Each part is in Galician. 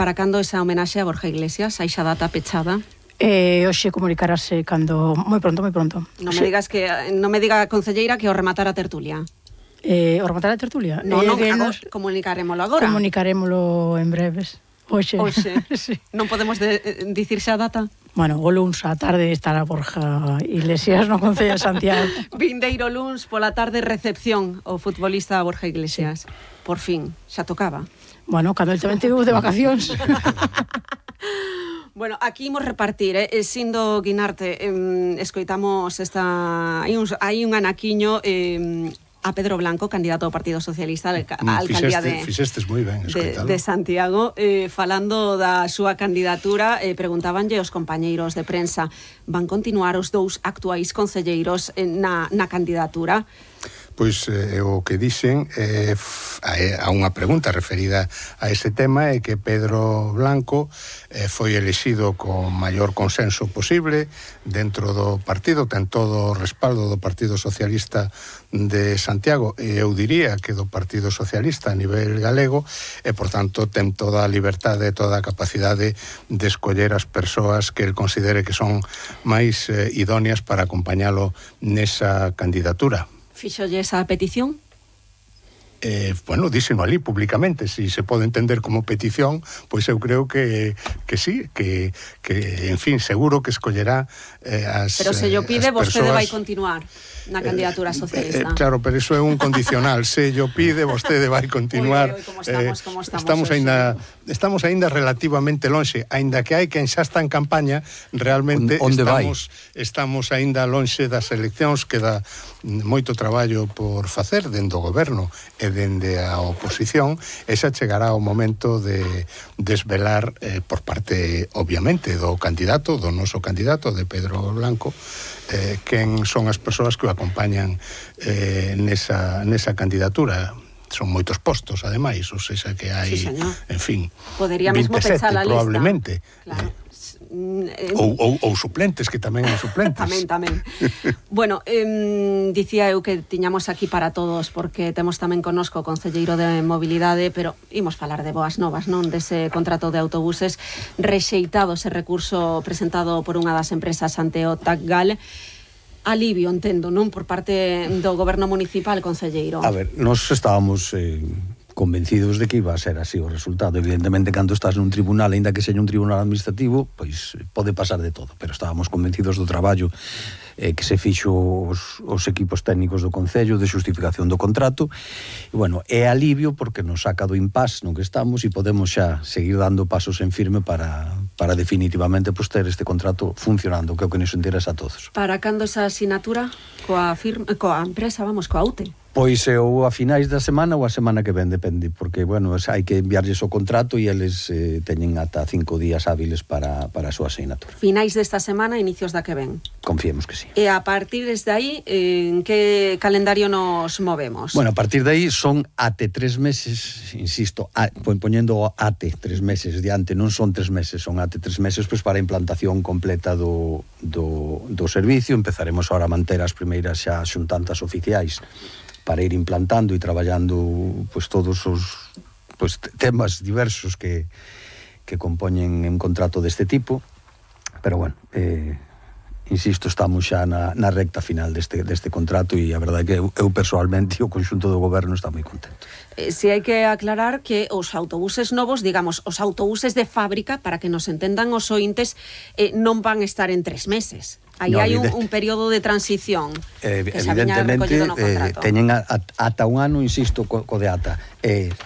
Para cando esa homenaxe a Borja Iglesias? Hai xa data pechada? Hoxe comunicarase cando... Moi pronto. Non me digas non me diga a concelleira que o rematar a tertulia. O rematar a tertulia? Non, comunicarémolo agora. Comunicarémolo en breves. Hoxe. Sí. Non podemos dicir xa a data? Bueno, o luns á tarde estará Borja Iglesias no Concello de Santiago. Vindeiro luns pola tarde recepción o futbolista Borja Iglesias. Sí. Por fin, xa tocaba. Bueno, cando el tamén teve de vacacións. Bueno, aquí imos repartir, Sindo Guinarte, escoitamos hai un anaquiño a Pedro Blanco, candidato do Partido Socialista á alcaldía Fixestes moi ben, de Santiago, falando da súa candidatura, preguntabanlle os compañeiros de prensa, van continuar os dous actuais concelleiros na candidatura? Pois o que dixen a unha pregunta referida a ese tema é que Pedro Blanco foi elixido con maior consenso posible dentro do partido, ten todo o respaldo do Partido Socialista de Santiago e eu diría que do Partido Socialista a nivel galego e, por tanto, ten toda a liberdade e toda a capacidade de escoller as persoas que el considere que son máis idóneas para acompañalo nesa candidatura. Fixolle esa petición? Bueno, díseno ali públicamente, si se pode entender como petición, pois eu creo que sí, que en fin, seguro que escollerá as Pero se yo pide, vostede persoas... vai continuar na candidatura socialista. Claro, pero iso é un condicional. Se yo pide, vostede vai continuar. Como estamos estamos aínda relativamente lonxe, aínda que hai quen xa está en campaña, realmente estamos aínda lonxe das eleccións, queda moito traballo por facer dende o goberno e dende a oposición, e xa chegará o momento de desvelar por parte, obviamente, do candidato, do noso candidato, de Pedro Blanco, quen son as persoas que o acompañan nesa candidatura. Son moitos postos, ademais, ou seja que hai, sí, en fin, podría mesmo 27 pechar a lista, probablemente. Claro. Ou suplentes, que tamén hai suplentes. Tamén. Bueno, dicía eu que tiñamos aquí para todos, porque temos tamén connosco o concelleiro de mobilidade, pero imos falar de boas novas, non? Dese contrato de autobuses rexeitado, ese recurso presentado por unha das empresas ante o TACGAL. Alivio, entendo, non? Por parte do goberno municipal, concelleiro. A ver, nós estábamos convencidos de que iba a ser así o resultado. Evidentemente, cando estás nun tribunal, aínda que seña un tribunal administrativo, pois pode pasar de todo, pero estábamos convencidos do traballo que se fixo os equipos técnicos do Concello de xustificación do contrato, e, bueno, é alivio porque nos saca do impasse no que estamos e podemos xa seguir dando pasos en firme para definitivamente ter este contrato funcionando, que é o que nos interesa a todos. Para cando esa asinatura coa empresa, coa UTE? Pois ou a finais da semana ou a semana que ven, depende, porque, bueno, hai que enviarlles o contrato e eles teñen ata 5 días hábiles para a súa asignatura. Finais desta semana, inicios da que ven? Confiemos que sí. E a partir desde aí, en que calendario nos movemos? Bueno, a partir de aí son até 3 meses, insisto, poñendo até 3 meses diante, non son 3 meses, son até 3 meses pois para a implantación completa do servicio. Empezaremos ahora a manter as primeiras xa xuntantas oficiais para ir implantando e traballando pois todos os temas diversos que compoñen un contrato deste tipo, pero bueno, insisto, estamos xa na recta final deste contrato e a verdade é que eu personalmente e o conxunto do goberno está moi contento. Si hai que aclarar que os autobuses novos, digamos, os autobuses de fábrica, para que nos entendan os ointes, non van estar en 3 meses. Aí hai un período de transición que xa viña recollido no contrato. Teñen ata un ano, insisto, co de ata.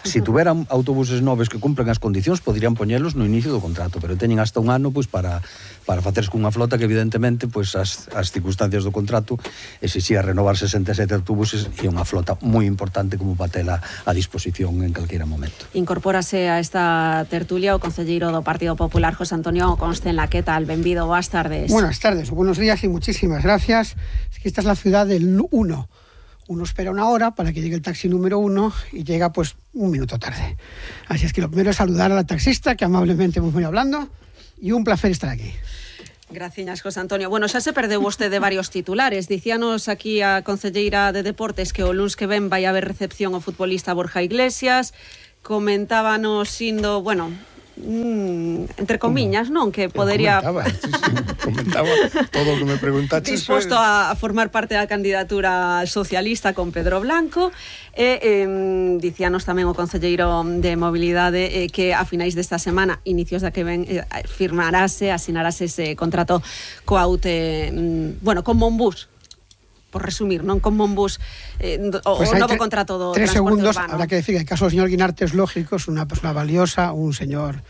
Se tuveran autobuses novos que cumplen as condicións, poderían poñelos no inicio do contrato, pero teñen hasta un ano pois para facerse cunha flota que evidentemente pois as circunstancias do contrato exixía renovar 67 autobuses e unha flota moi importante como para tela a disposición en calquera momento. Incorpórase a esta tertulia o concelleiro do Partido Popular, José Antonio Constenla. Que tal? Benvido, boas tardes. Buenas tardes, buenos días y muchísimas gracias. Es que esta es la ciudad del 1. Uno espera una hora para que llegue el taxi número 1 y llega pues un minuto tarde. Así es que lo primero es saludar a la taxista, que amablemente hemos venido hablando, y un placer estar aquí. Gracias, José Antonio. Bueno, xa se perdeu vostede varios titulares. Dicíanos aquí a concelleira de Deportes que o luns que ven vai haber recepción ao futbolista Borja Iglesias. Comentábanos Sindo, bueno, entre comiñas, non? Que podería... Comentaba todo o que me preguntaste. Disposto a formar parte da candidatura socialista con Pedro Blanco. Dicíanos tamén o concelleiro de Mobilidade que a finais desta semana, inicios da que ven, asinarase ese contrato coa UTE, con Monbús, por resumir, non con Monbús, o novo contrato do transporte segundos, urbano. habrá que decir que en caso do señor Guinarte es lógico, es una persona valiosa, un señor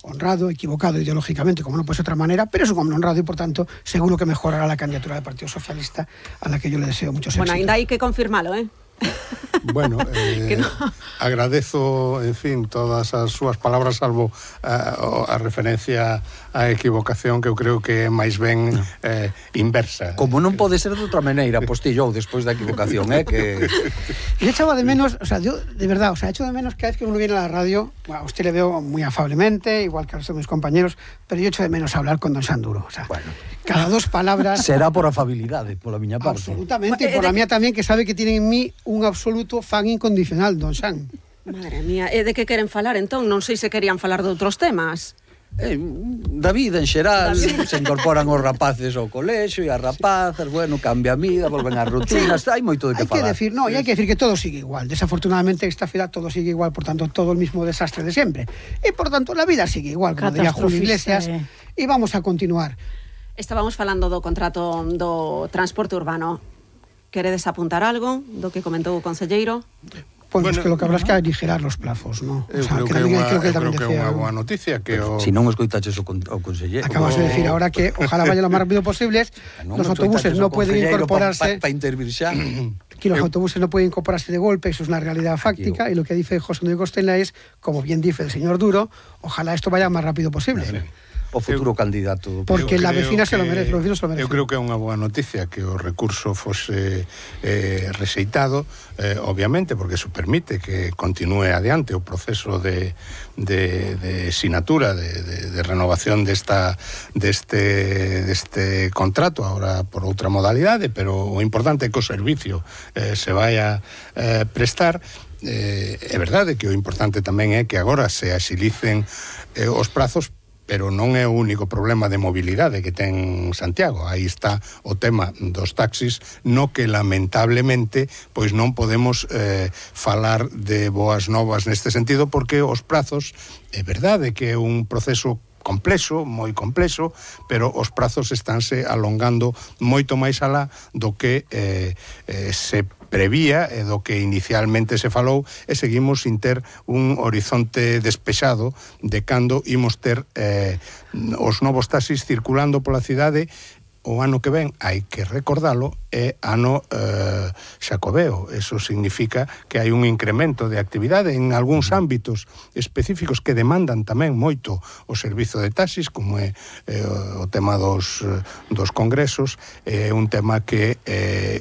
honrado, equivocado ideológicamente, como no puede ser de otra manera, pero es un hombre honrado y, por tanto, seguro que mejorará la candidatura del Partido Socialista, a la que yo le deseo muchos éxitos. Bueno, ainda hai que confirmalo, Bueno, no. agradezo, en fin, todas as súas palabras, salvo a referencia á equivocación, que eu creo que é máis ben inversa. Como non pode ser de outra maneira, postillou despois da equivocación, que... Yo echaba de menos, o sea, yo, de verdad, o sea, echo de menos cada vez que uno viene a la radio, bueno, a usted le veo muy afablemente, igual que a los de mis compañeros, pero yo echo de menos hablar con don Sanduro, o sea, Bueno, cada dos palabras... será por afabilidade, pola miña parte. Absolutamente, y por la mía también, que sabe que tiene en mí un absoluto fan incondicional, don San. Madre mía, de que queren falar entón? Non sei se querían falar de outros temas. Da vida en xeral, se incorporan os rapaces ao colexio e as rapazas, bueno, cambia a vida, volven as rutinas, hai moito de que falar. Hay que decir que todo sigue igual. Desafortunadamente esta ciudad todo sigue igual, por tanto todo el mismo desastre de siempre. Y por tanto la vida sigue igual, como diría Julio Iglesias, y vamos a continuar. Estábamos falando do contrato do transporte urbano. Queredes apuntar algo do que comentou o concelleiro? Bueno, es que lo que habrá es que aligerar los plazos, ¿no? Eu creo que é unha boa noticia que Si non escoitaches o conselleiro. Acabas de decir ahora que ojalá vaya lo más rápido posible. Los autobuses no pueden incorporarse. Para intervir xa. Que los autobuses no pueden incorporarse de golpe, eso es una realidad fáctica, y lo que dice José Luis Costela es, como bien dice el señor Duro, ojalá esto vaya más rápido posible. O futuro candidato. Porque la vecina se lo merece, los vecinos se lo merecen. Eu creo que é unha boa noticia que o recurso fose rexeitado, obviamente, porque eso permite que continúe adiante o proceso de sinatura, de renovación deste contrato, ahora por outra modalidade, pero o importante é que o servicio se vai a prestar. É verdade que o importante tamén é que agora se axilicen os prazos, pero non é o único problema de mobilidade que ten Santiago. Aí está o tema dos taxis, no que lamentablemente pois non podemos falar de boas novas neste sentido, porque os prazos, é verdade que é un proceso complexo, moi complexo, pero os prazos estánse alongando moito máis alá do que se prevía e do que inicialmente se falou, e seguimos sin ter un horizonte despexado de cando imos ter os novos taxis circulando pola cidade. O ano que ven, hai que recordalo, é ano xacobeo. Eso significa que hai un incremento de actividade en algúns ámbitos específicos que demandan tamén moito o servizo de taxis, como é o tema dos congresos. É un tema que,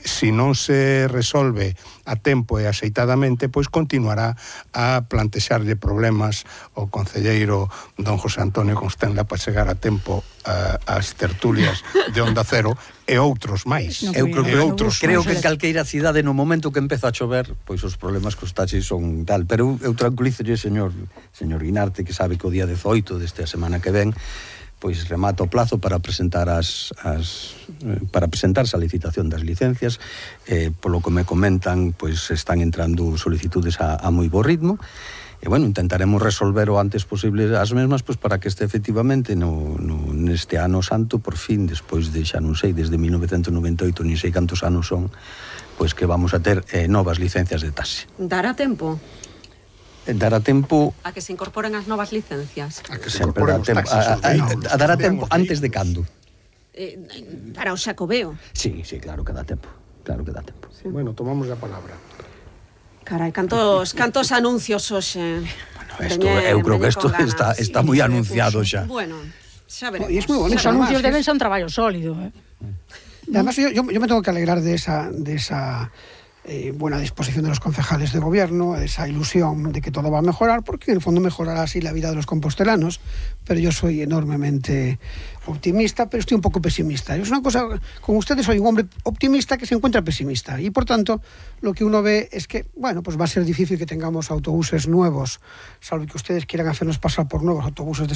se non se resolve a tempo e axeitadamente, pois continuará a plantexarlle problemas ao concelleiro don José Antonio Constenla para chegar a tempo ás tertulias de Onda Cero e outros máis. Eu creo que en calqueira cidade no momento que empeza a chover, pois os problemas cos taxis son tal, pero eu tranquilízolle, señor Guinarte, que sabe que o día 18 desta semana que ven, pois remata o plazo para presentar para presentarse a licitación das licencias. Polo que me comentan, pois están entrando solicitudes a moi bo ritmo. E, bueno, intentaremos resolver o antes posible as mesmas, pois para que este efectivamente neste ano santo, por fin, despois de, xa non sei, desde 1998, ni sei cantos anos son, pois que vamos a ter novas licencias de taxi. Dará tempo? Dará tempo... A que se incorporen as novas licencias? A que se incorporen os taxis. Dará tempo antes de cando? Para o xacobeo? Sí, claro que dá tempo. Claro que dá tempo. Sí. Bueno, tomamos a palabra. Carai, cantos anuncios hoxe. Bueno, eu creo que isto está moi anunciado xa. Bueno, xa veremos. Y es muy bonito. Los anuncios deben ser un traballo sólido. Además, yo me tengo que alegrar de esa buena disposición de los concejales de gobierno, esa ilusión de que todo va a mejorar, porque en el fondo mejorará así la vida de los compostelanos, pero yo soy enormemente optimista, pero estoy un poco pesimista. Es una cosa, con ustedes soy un hombre optimista que se encuentra pesimista, y por tanto lo que uno ve es que, bueno, pues va a ser difícil que tengamos autobuses nuevos, salvo que ustedes quieran hacernos pasar por nuevos autobuses de